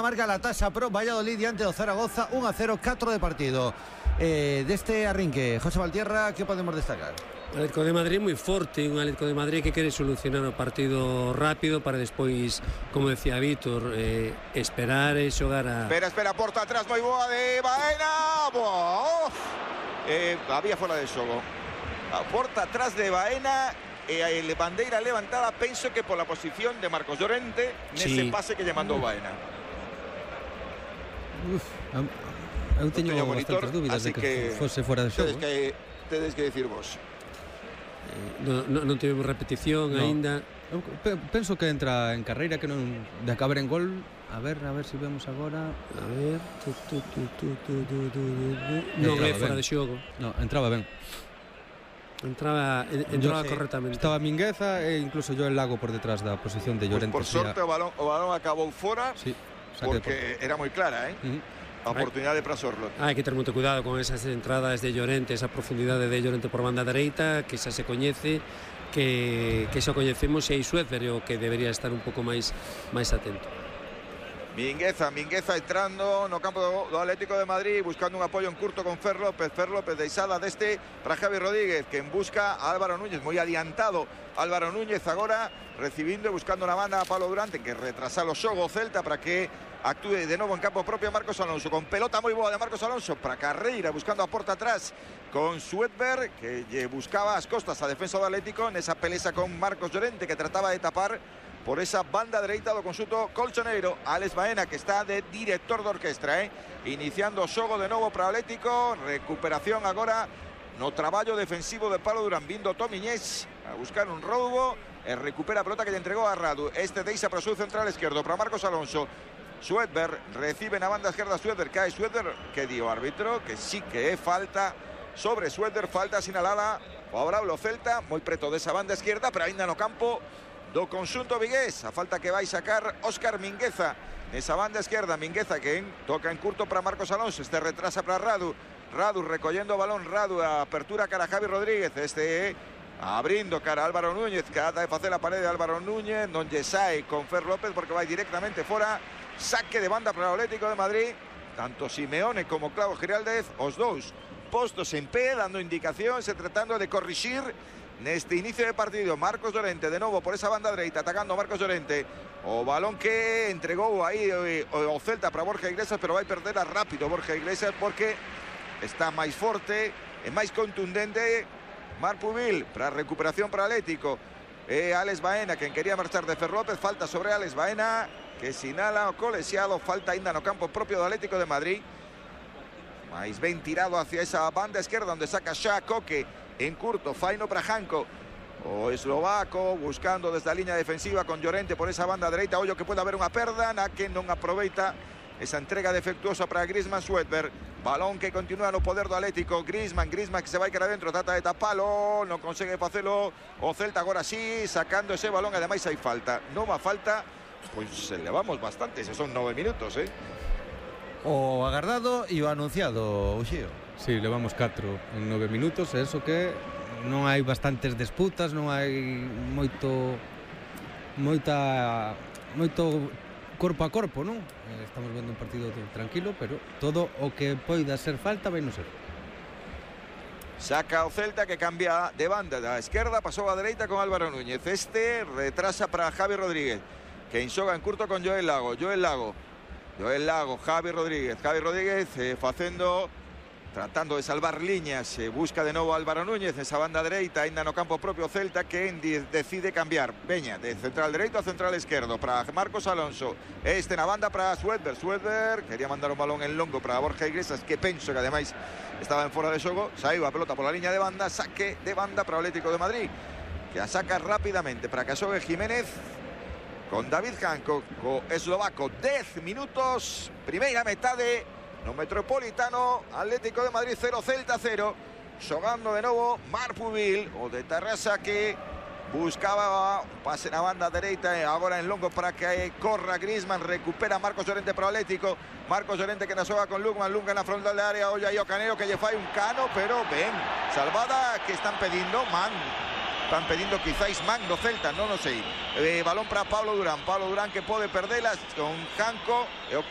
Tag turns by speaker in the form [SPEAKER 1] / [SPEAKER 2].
[SPEAKER 1] Marca la taxa pro Valladolid diante do Zaragoza 1-0, 4 de partido. Deste arrinque, José Valtierra, que podemos destacar?
[SPEAKER 2] O Atlético de Madrid moi forte, un Atlético de Madrid que quere solucionar o partido rápido para despois, como decía Víctor, esperar e xogar a...
[SPEAKER 3] Espera, porta atrás, moi boa de Baena. Había fora de xogo. A porta atrás de Baena. Bandeira levantada, penso que pola posición de Marcos Llorente nese pase que lle mandou Baena.
[SPEAKER 4] Eu teño bastantes dúbidas de que fose fora de xogo.
[SPEAKER 3] Tedes que dicir vos.
[SPEAKER 2] Non tivemos repetición aínda.
[SPEAKER 4] Eu penso que entra en carreira, que non de acabar en gol. A ver se vemos agora.
[SPEAKER 2] A ver. Non é fora de xogo.
[SPEAKER 4] Non, entraba ben.
[SPEAKER 2] Entraba correctamente.
[SPEAKER 4] Estaba Mingueza e incluso yo el Lago por detrás da posición de Llorente.
[SPEAKER 3] Por sorte o balón acabou fora.
[SPEAKER 4] Sí,
[SPEAKER 3] porque era moi clara, a oportunidade para Sorlot.
[SPEAKER 2] Hai que ter moito cuidado con esas entradas de Llorente, esa profundidade de Llorente por banda dereita, que xa se coñece, que xa coñecemos, e Schwedberg o que debería estar un pouco máis atento.
[SPEAKER 3] Mingueza entrando no campo do Atlético de Madrid, buscando un apoio en curto con Fer López deixada deste para Javi Rodríguez, que busca a Álvaro Núñez, moi adiantado Álvaro Núñez agora, recibindo e buscando na banda a Pablo Durante, que retrasa o xogo Celta para que actúe de novo en campo propio Marcos Alonso, con pelota moi boa de Marcos Alonso para Carreira, buscando a porta atrás con Schwedberg, que lle buscaba as costas a defensa do Atlético nesa peleza con Marcos Llorente, que trataba de tapar por esa banda dereita do conxunto colchoneiro. Alex Baena, que está de director de orquestra, iniciando o xogo de novo para o Atlético. Recuperación agora no traballo defensivo de Pablo Durán, vindo Tomiñés a buscar un roubo e recupera a pelota que lle entregou a Radu. Deixa para o seu central esquerdo para Marcos Alonso. Schwedberg recibe na banda esquerda. Schwedberg cae. Schwedberg, que dio o árbitro, que sí que é falta sobre Schwedberg, falta sinalada favorable ao Celta, moi preto desa banda esquerda, pero aínda no campo do conxunto vigués. A falta que vai sacar Óscar Mingueza nesa banda esquerda. Mingueza que toca en curto para Marcos Alonso, retrasa para Radu recollendo o balón. Radu, a apertura cara a Javi Rodríguez, abrindo cara a Álvaro Núñez, que trata de facer a parede de Álvaro Núñez, non lle sae con Fer López porque vai directamente fora. Saque de banda para o Atlético de Madrid, tanto Simeone como Claudio Giraldez, os dous postos en pé, dando indicacións e tratando de corrixir neste inicio de partido. Marcos Llorente de novo por esa banda dereita, atacando Marcos Llorente. O balón que entregou aí o Celta para Borja Iglesias, pero vai perder rápido Borja Iglesias porque está máis forte e máis contundente Marc Pubil. Para recuperación para Atlético, Alex Baena, quen quería marchar de Fer López. Falta sobre Alex Baena, que sinala o colexiado. Falta aínda no campo propio do Atlético de Madrid, máis ben tirado hacia esa banda esquerda, onde saca xa Coque en curto, faino para Janko, o eslovaco, buscando desde a liña defensiva con Llorente por esa banda dereita. Ollo que pode haber unha perda na que non aproveita esa entrega defectuosa para Griezmann. Schwedberg, balón que continúa no poder do Atlético. Griezmann que se vai cara adentro, trata de tapalo, non consegue facelo o Celta. Agora sí, sacando ese balón, ademais hai falta. Nova falta, pois levamos bastante, se son 9 minutos,
[SPEAKER 1] O agardado e o anunciado, Uxío.
[SPEAKER 4] Sí, levamos 4 en 9 minutos, e eso que non hai bastantes disputas, non hai moito corpo a corpo, non? Estamos vendo un partido tranquilo, pero todo o que poida ser falta vai non ser.
[SPEAKER 3] Saca o Celta, que cambia de banda da esquerda, pasou a dereita con Álvaro Núñez. Retrasa para Javi Rodríguez, que enxoga en curto con Joel Lago, Javi Rodríguez tratando de salvar líneas. Busca de novo Álvaro Núñez esa banda dereita, aínda no campo propio Celta, que decide cambiar. Veña de central dereito a central esquerdo para Marcos Alonso. Na banda para Schwedberg, quería mandar un balón en longo para Borja Iglesias, que penso que ademais estaba en fora de xogo. Saiu a pelota pola liña de banda. Saque de banda para o Atlético de Madrid, que a saca rapidamente para que xogue Jiménez con David Janko, co eslovaco. 10 minutos, primeira metade no Metropolitano. Atlético de Madrid 0, Celta 0. Xogando de novo Marc Pubil, o de Tarrasa, que buscaba un pase na banda dereita, e agora en longo para que corra Griezmann. Recupera Marcos Llorente para o Atlético. Marcos Llorente que na xoga con Lugman na frontal de área. Olla aí o Canelo, que lle fai un cano, pero ben salvada, que están pedindo Están pedindo quizáis man do Celta, non o sei. Balón para Pablo Durán que pode perdelas con Janko, e o